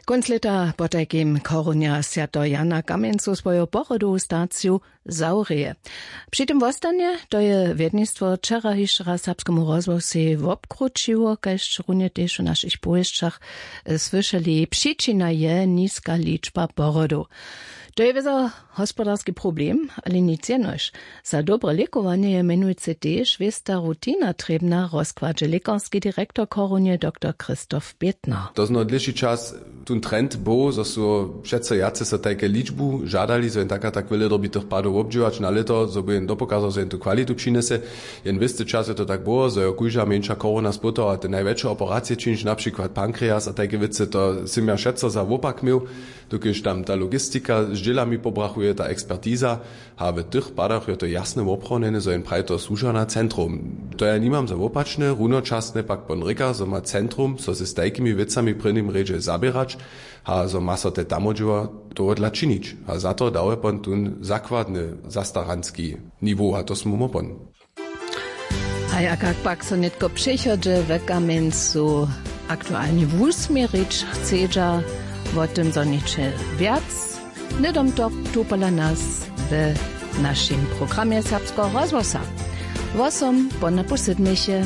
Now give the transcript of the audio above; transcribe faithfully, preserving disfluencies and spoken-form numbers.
Kónc lěta potajkim chorunja swjateho Jana Kamjencu swoju pochodowu staciju zawrěje. Při tym wostanje, to je wjednistwo wčera hišće raz serbskemu rozhłosej wobkrućiło, kaž runje tež w našich powěsćach słyšeli. Přičina je niska ličba porodow. To je wězo hospodarski problem, ale nic jenož. Za dobre lěkowanje je mjenujcy tež wěsta rutina trěbna, rozkładźe lěkarski direktor chorunje doktor Christoph Bětner. To zno dlěši čas tón trend był, zo su přeco wjace so tajke ličbu žadali, zo jen tak a tak wjele dyrbitych padow wobdźěłać na lěto, zo by jen dopokazał, zo jen tu kwalitu přinjese. Jen wěsty čas je to tak było, zo jo kóžda mjeńša chorowna spótała te najwjetše operacije čińć, na přikład pankreas a tajke wěcy, to sym ja wšetco za wopak měł. Dokelž tam ta logistika z dźělami pobrachuje, ta ekspertiza, a w tych padach jo to jasne woprawdnjene, zo jen praji to słuža na centrum. To ja nimam za wopačne. Runočasne pak pon rěka, zo ma centrum so z tajkimi wěcami w prěnim rjedźe zaběrać, a zo ma so te tamodźěła tohodla činić, a za to dawa pon tón zakładny zastaranski niwo, a to smy mo pon. A jak pak so nětko přechodźe w kamjencu aktualnje wusměrić chcedźa, wo tym zhoniće wjac hnydom to tu pola nas w našim programje serbskeho rozhłosa. Wosom pona posydneše.